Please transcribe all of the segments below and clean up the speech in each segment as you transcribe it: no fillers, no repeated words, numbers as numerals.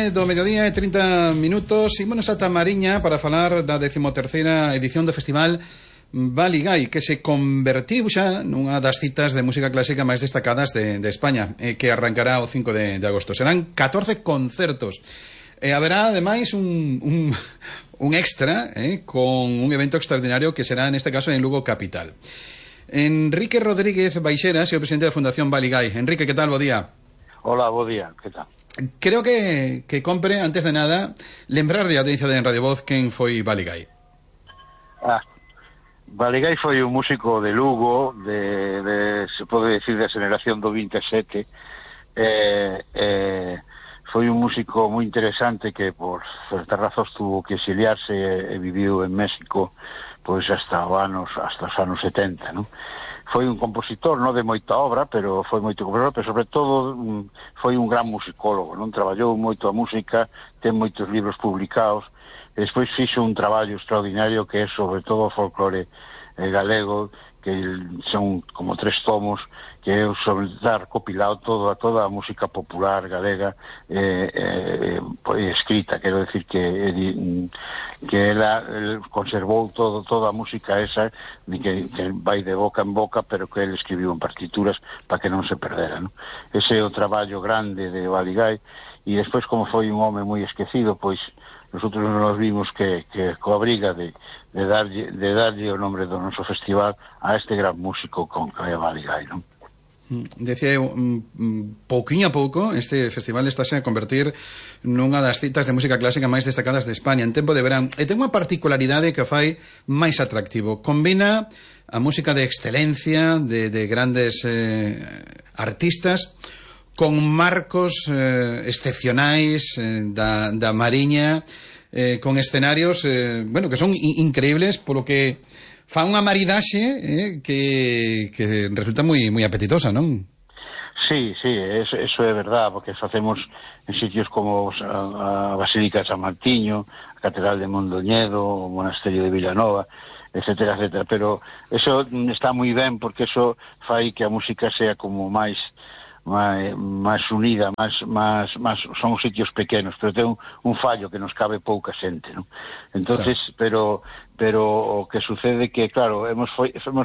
Do mediodía e 30 minutos Ímonos ata Mariña para falar da 13ª edición do Festival Baligái, que se convertiu xa nunha das citas de música clásica máis destacadas de España, que arrancará o 5 de agosto. Serán 14 concertos. Haberá, ademais, un extra con un evento extraordinario que será, neste caso, en Lugo Capital. Enrique Rodríguez Baixeras é o presidente da Fundación Baligái. Enrique, que tal? Bo día. Hola, bo día, que tal? Creo que compre, antes de nada, lembrarle a audiencia de En Radio Voz quen foi Baligái. Baligái foi un músico de Lugo, se pode decir, da xeración do 27. Foi un músico moi interesante que por certas razóns tuvo que exiliarse e viviu en México pois hasta os anos 70, non? Foi un compositor, non de moita obra, pero foi moito compositor, pero sobre todo foi un gran musicólogo, non? Traballou moito a música, ten moitos libros publicados, e despois fixo un traballo extraordinario que é sobre todo o folclore galego, que son como 3 tomos, que é sobre dar copilado toda a música popular galega escrita, quero decir que ela conservou toda a música esa que vai de boca en boca, pero que ele escribiu en partituras para que non se perdera, non? Ese é o traballo grande de Baligái, e despois, como foi un home moi esquecido, pois nosotros nos vimos que coa briga de darlle o nombre do noso festival a este gran músico con que é Baligái, non? Decía eu, pouquinho a pouco este festival estáse a convertir nunha das citas de música clásica máis destacadas de España en tempo de verán, e ten unha particularidade que o fai máis atractivo. Combina a música de excelencia de grandes artistas con marcos excepcionais da Mariña, con escenarios que son increíbles, polo que fa unha maridaxe que resulta moi apetitosa, non? Sí, eso é verdad, porque facemos en sitios como a Basílica de San Martiño, a Catedral de Mondoñedo, o Monasterio de Villanova, etcétera, pero eso está moi ben, porque eso fai que a música sea como máis unida, máis son sitios pequenos, pero ten un fallo que nos cabe pouca xente, non? Entonces, pero o que sucede que, claro, hemos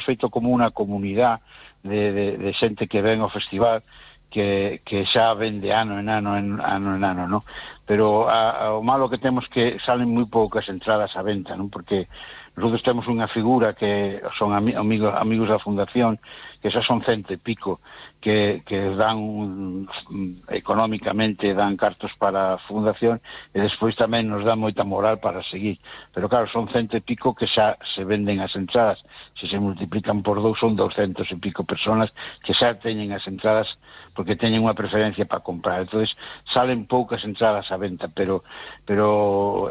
feito como unha comunidade de xente que ven ao festival que xa ven de ano en ano, non? Pero o malo que temos que salen moi poucas entradas á venta, non? Porque nosotros temos unha figura que son amigos da Fundación, que xa son 100 e pico, que dan económicamente, dan cartos para a Fundación, e despois tamén nos dan moita moral para seguir. Pero claro, son 100 e pico que xa se venden as entradas. Se se multiplican por 2 son 200 e pico personas que xa teñen as entradas porque teñen unha preferencia para comprar. Entonces salen poucas entradas á venta, pero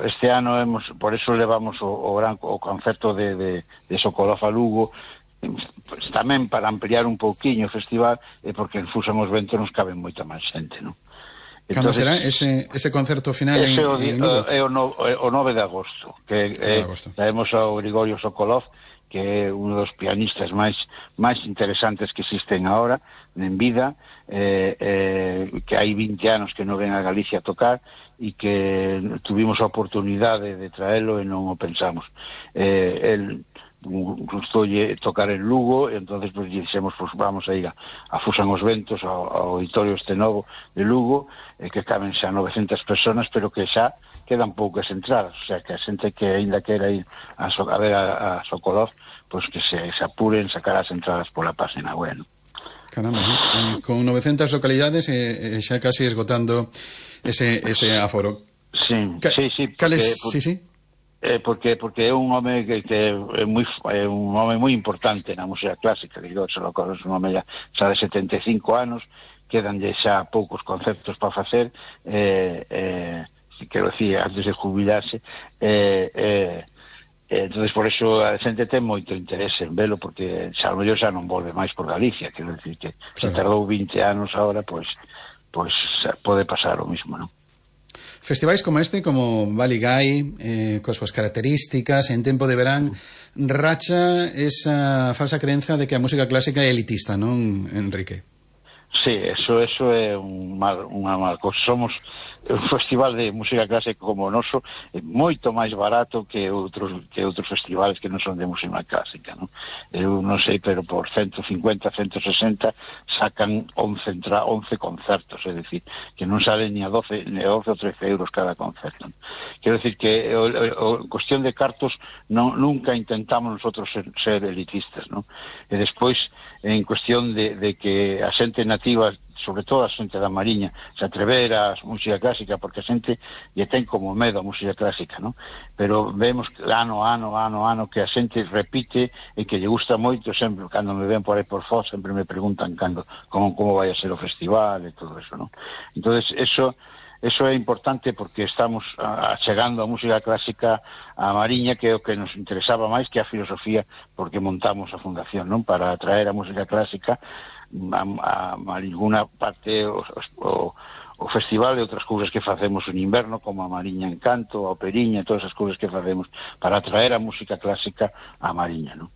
este ano por eso levamos o concerto de Sokolov a Lugo, pues, tamén para ampliar un pouquiño o festival, porque en Fusan os ventos nos caben moita máis xente, non? Cando será ese concerto final en Lugo? É o 9 de agosto, que traemos ao Grigorio Sokolov, que é un dos pianistas máis interesantes que existen agora en vida, que hai 20 anos que non ven a Galicia a tocar, e que tuvimos a oportunidade de traelo e non o pensamos. El gustou tocar en Lugo, e entonces pues dixemos, pues vamos a ir a Fusan os Ventos, ao auditorio este novo de Lugo, que caben xa 900 personas, pero que xa quedan poucas entradas, o sea, que a xente que ainda quera ir a ver a Sokolov, pues que se apuren sacar as entradas pola página web, ¿no? Caramba, con 900 localidades xa casi esgotando ese aforo. Sí. Porque é un home que é un home moi importante na música clásica, que é un home xa de 75 anos, quedanlle xa poucos concertos para facer, quero dicir, antes de jubilarse, entonces por eso a xente ten moito interese en velo, porque xa mellor xa non volve máis por Galicia, quero dicir que se tardou 20 anos agora, pois pode pasar o mismo, non? Festivais como este, como Baligái, coas súas características, en tempo de verán, racha esa falsa creenza de que a música clásica é elitista, non, Enrique? Sí, eso é unha mal cosa. Somos un festival de música clásica como o noso é moito máis barato que outros festivales que non son de música clásica, non? Eu non sei, pero por 150, 160 sacan 11 concertos, é dicir, que non salen ni a 12 ou 13 euros cada concerto, non? Quero dicir que en cuestión de cartos nunca intentamos nosotros ser elitistas, non? E despois, en cuestión de que a xente nativa, sobre todo a xente da Mariña, se atrever a música clásica, porque a xente lle ten como medo a música clásica, non? Pero vemos ano que a xente repite e que lle gusta moito. Sempre, cando me ven por aí por Foz, sempre me preguntan como vai a ser o festival e todo eso, non? Entonces, eso é importante, porque estamos chegando a música clásica a Mariña, que é o que nos interesaba máis que a filosofía, porque montamos a fundación, non? Para atraer a música clásica a ninguna parte o festival e outras cousas que facemos en inverno, como a Mariña Encanto, a Operiña, todas as cousas que facemos para atraer a música clásica a Mariña, non?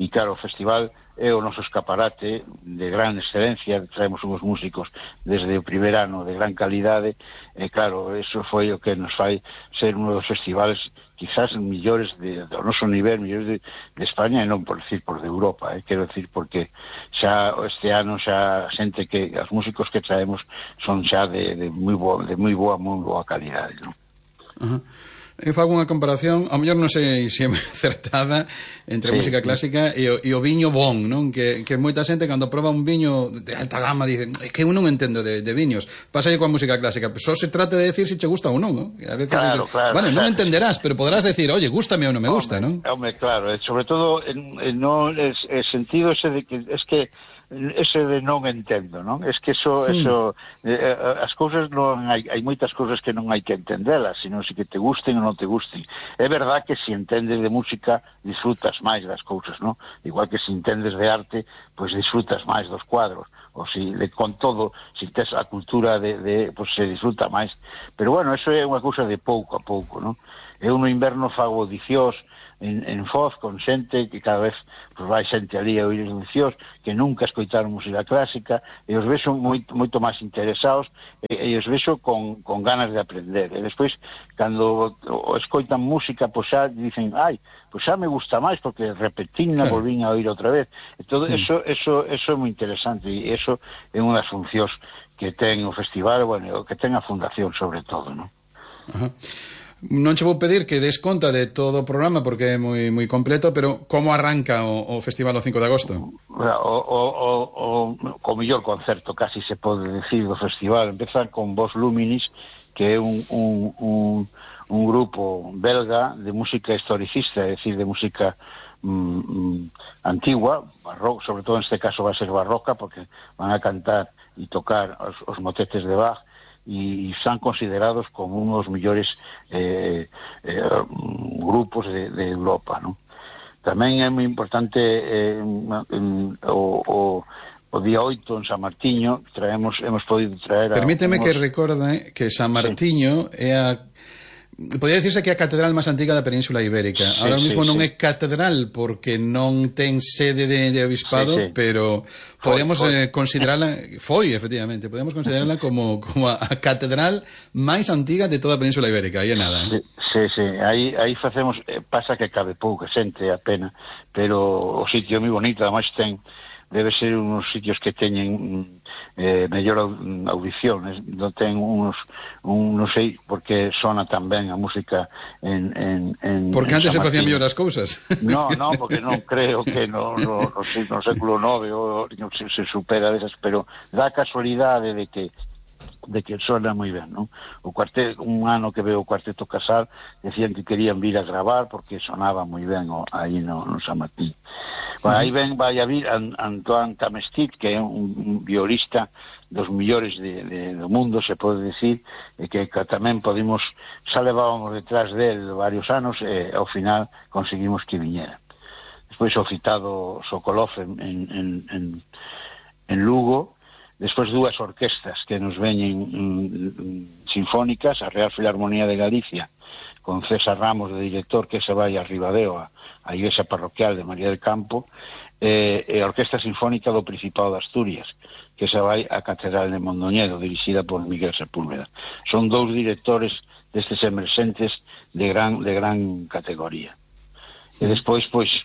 E claro, o festival é o noso escaparate de gran excelencia, traemos uns músicos desde o primer ano de gran calidade, e claro, eso foi o que nos fai ser un dos festivales quizás millores do noso nivel, millores de España, e non por decir por de Europa, quero decir, porque xa este ano xa xente que os músicos que traemos son xa de moi boa calidade, non? Eu fago unha comparación, ao mellor non sei se é acertada, entre a música clásica e o viño bon, non? Que moita xente cando proba un viño de alta gama dice, é que eu non entendo de viños. Pasa aí coa música clásica, só se trata de decir se che gusta ou non, non? A veces claro, bueno, non entenderás, pero podrás decir, oye, gústame ou non me gusta, non? Home, claro, sobre todo no el sentido ese de que es que ese de non entendo, non? Es que eso as cousas non hai moitas cousas que non hai que entendelas, sino se que te gusten ou non te gusten. É verdad que se entendes de música disfrutas máis das cousas, non? Igual que se entendes de arte, pois disfrutas máis dos cuadros, ou con todo, se tes a cultura pois se disfruta máis. Pero bueno, eso é unha cousa de pouco a pouco, non? Eu no inverno fago audicións en Foz con xente que cada vez pues, vai xente ali a oír audicións que nunca escoitaron música clásica, e os vexo moito máis interesados, e os vexo con ganas de aprender. E despois, cando escoitan música, pois xa dicen, pois xa me gusta máis, porque repetín-na, volvín a oír outra vez. E todo eso é moi interesante, e eso é unha das funcións que ten o festival, bueno, que ten a fundación sobre todo, non? Ajá. Non che vou pedir que des conta de todo o programa porque é moi completo, pero como arranca o festival o 5 de agosto? O mellor concerto, casi se pode decir, do festival. Empeza con Vos Luminis, que é un grupo belga de música historicista, é dicir, de música antigua, barroca, sobre todo neste caso va a ser barroca, porque van a cantar e tocar os motetes de Bach, e están considerados como unos mellores grupos de Europa, non? Tamén é moi importante o día 8 en San Martiño hemos podido traer Permíteme que recorde que San Martiño é podría decirse que é a catedral máis antiga da Península Ibérica. Ahora mismo non é catedral porque non ten sede de obispado, pero podríamos considerarla, efectivamente, podemos considerarla como a catedral máis antiga de toda a Península Ibérica, aí é nada. Sí, aí facemos, pasa que cabe pouca xente, a pena, pero o sitio é moi bonito, ademais debe ser unos sitios que teñen mellor audición, non ten non sei porque sona tan ben a música en porque antes se facían mellor as cousas. Non, porque non creo que no século IX se supera desas, pero dá casualidade de que sona moi ben, non? Un ano que veo o Cuarteto Casal decían que querían vir a gravar porque sonaba moi ben aí no San Martín. Bueno, aí vai a vir Antoine Tamestit, que é un violista dos millores do mundo, se pode decir, e que tamén xa levábamos detrás del varios anos, e ao final conseguimos que viñera. Despois o citado Sokolov en Lugo. Despois dúas orquestas que nos veñen sinfónicas, a Real Filarmonía de Galicia, con César Ramos de director, que se vai a Ribadeo, a igrexa parroquial de María del Campo, e a Orquesta Sinfónica do Principado de Asturias, que se vai á Catedral de Mondoñedo, dirixida por Miguel Sepúlveda. Son dous directores destes emerxentes de gran categoría. E despois, pois,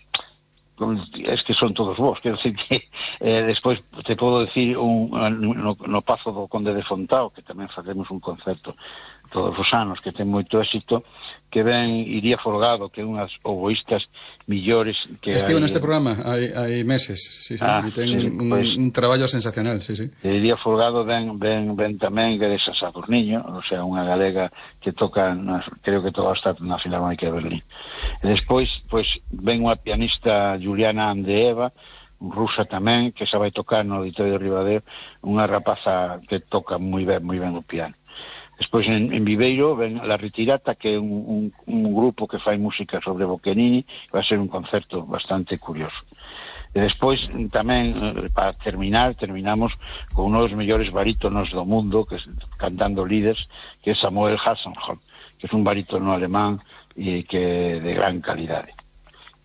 es que son todos vos, quero dicir que despois te podo dicir no Pazo do Conde de Fontao, que tamén facemos un concerto todos os anos, que ten moito éxito, que ven Iría Folgado, que é unhas oboístas millores que estive neste programa hai meses, sí, e ten un traballo sensacional, sí. Iría Folgado ven tamén Teresa Sadurniño, o sea, unha galega que toca, creo que todo está na Filarmónica de Berlín. E despois, pois, ven unha pianista Juliana Andeeva, rusa tamén, que xa vai tocar no Auditorio de Ribadeo, unha rapaza que toca moi ben o piano. Despois en Viveiro ven La Ritirata, que é un grupo que fai música sobre Boccherini, vai ser un concerto bastante curioso. E despois tamén, para terminamos con un dos mellores barítonos do mundo, que cantando líderes, que é Samuel Hasselhoff, que é un barítono alemán que de gran calidade.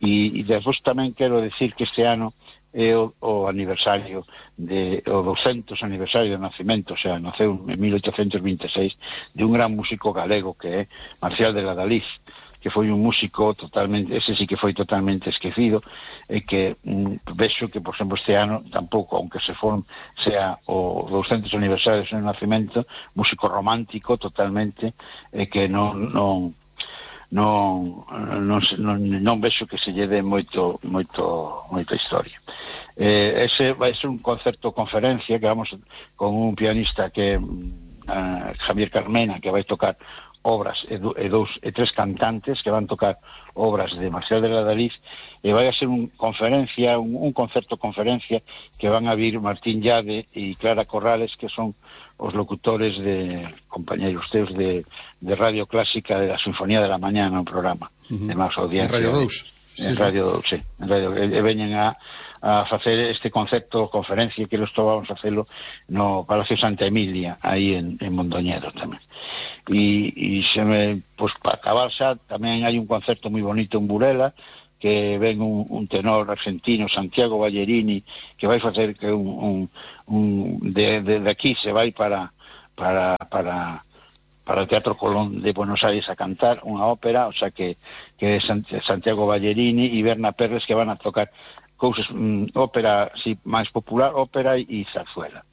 E despois tamén quero decir que este ano é o aniversario o 200 aniversario do nacemento, o sea, naceu en 1826, de un gran músico galego que é Marcial de la Daliz, que foi un músico totalmente, ese sí que foi totalmente esquecido, e que vexo que, por exemplo, este ano tampouco, aunque sea o 200 aniversario do seu nacemento, músico romántico totalmente, e que non vexo que se lle dé moita historia. Ese vai ser un concerto conferencia que vamos con un pianista que Javier Carmena, que vai tocar obras e tres cantantes que van tocar obras de Marcial de la Daliz, e vai a ser un concerto conferencia que van a vir Martín Llade e Clara Corrales, que son os locutores de compañeros teus de Radio Clásica de la Sinfonía de la Mañá no programa de máis audiencia. En Radio 2. En Radio 2, sí. E veñen a facer este concerto conferencia que los vamos a facelo no Palacio Santa Emilia, aí en Mondoñedo tamén. E pois para acabar xa, tamén hai un concerto moi bonito en Burela, que ven un tenor argentino, Santiago Ballerini, que vai facer que de aquí se vai para o Teatro Colón de Buenos Aires a cantar unha ópera, o sea que é Santiago Ballerini e Berna Perles, que van a tocar cousas, ópera máis popular, ópera e zarzuela.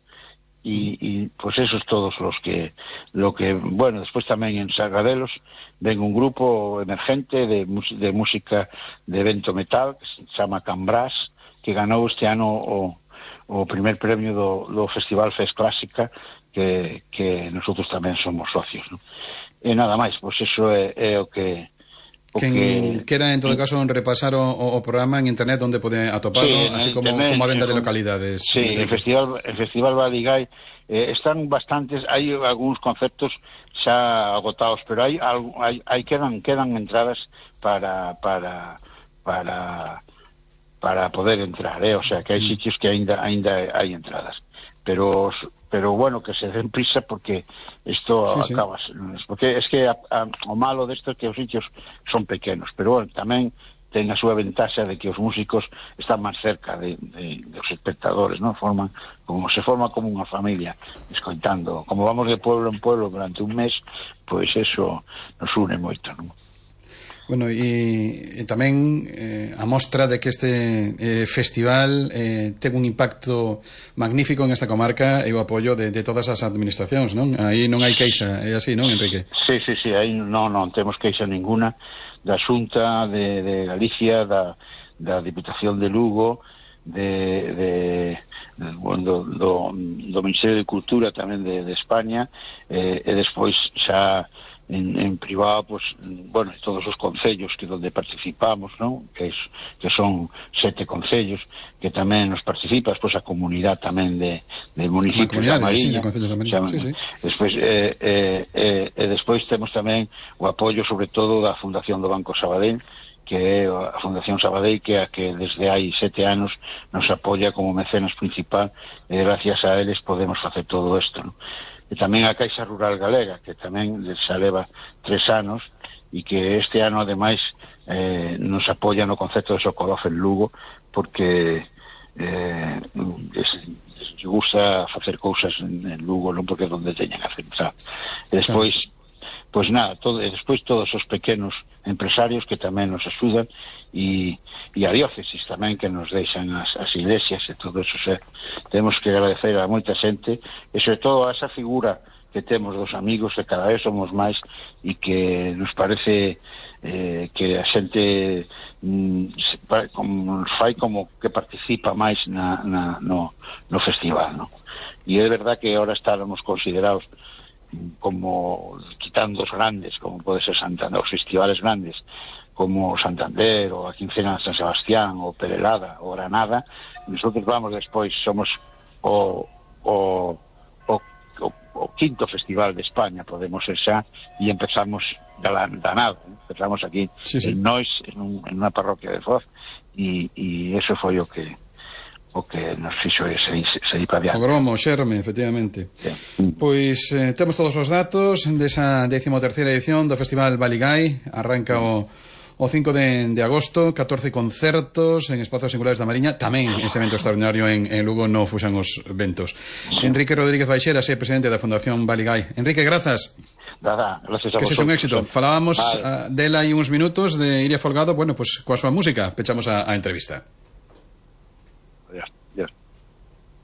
E pues esos todos lo que bueno, despois tamén en Sargadelos ven un grupo emergente de música de evento metal que se chama Cambrás, que ganou este ano o primer premio do Festival Fest Clásica, que nosotros tamén somos socios, ¿no? E nada máis, pues eso é o que Quen quera, en todo caso, repasar o programa en internet, onde pode atoparlo, así como a venda de localidades. Sí, el Festival Badigay están bastantes, hai algúns conceptos xa agotados, pero hai quedan entradas para poder entrar, o sea, que hai sitios que aínda hai entradas. Pero bueno, que se den prisa, porque isto acaba, porque es que o malo desto é que os sitios son pequenos, pero bueno, tamén ten a súa ventaxa de que os músicos están máis cerca dos espectadores, ¿no? Se forma como unha familia, escoitando, como vamos de pueblo en pueblo durante un mes, pois eso nos une moito, non? Bueno, e tamén a mostra de que este festival ten un impacto magnífico en esta comarca e o apoio de todas as administracións, non? Aí non hai queixa, é así, non, Enrique? Sí, aí non temos queixa ninguna da Xunta de Galicia, da Diputación de Lugo, do Ministerio de Cultura tamén de España, e despois xa en privado, pues, bueno, todos os concellos que donde participamos, ¿no? Que son 7 concellos que tamén nos participas, pues a comunidade tamén de municipios da Mariña, sí. Despois despois temos tamén o apoio sobre todo da Fundación do Banco Sabadell, que é a Fundación Sabadell, que é a que desde hai 7 anos nos apoia como mecenas principal, e gracias a eles podemos facer todo isto, ¿no? E tamén a Caixa Rural Galega, que tamén xa leva 3 anos, e que este ano ademais nos apoia no concepto de Socorrof en Lugo, porque se gusta facer cousas en Lugo, non porque é onde teñen a pensar. E despois, pois nada, despois todos os pequenos empresarios que tamén nos axudan, e a diócesis tamén, que nos deixan as iglesias e todo eso. Temos que agradecer a moita xente, e sobre todo a esa figura que temos dos amigos, que cada vez somos máis, e que nos parece que a xente fai como que participa máis no festival, no? E é verdad que ahora estamos considerados como, quitando os grandes, como pode ser Santander, os festivales grandes como Santander, ou a Quincena de San Sebastián, ou Perelada, ou Granada. Nosotros vamos despois, somos o quinto festival de España, podemos ser xa, e empezamos da nada, empezamos aquí en Nois, en unha parroquia de Foz, e eso foi o que nos fixo seguir para adiante. O gromo, o xerme, efectivamente. Pois temos todos os datos desa 13ª edición do Festival Baligái. Arranca o 5 de agosto, 14 concertos en espazos singulares da Mariña, tamén ese evento extraordinario en Lugo no fuxan os ventos. Enrique Rodríguez Baixeras é presidente da Fundación Baligái. Enrique, grazas. Nada, gracias a vosotros. Que sexa un éxito. Falábamos dela hai uns minutos, de Iria Folgado. Bueno, pues coa súa música pechamos a entrevista. Adiós.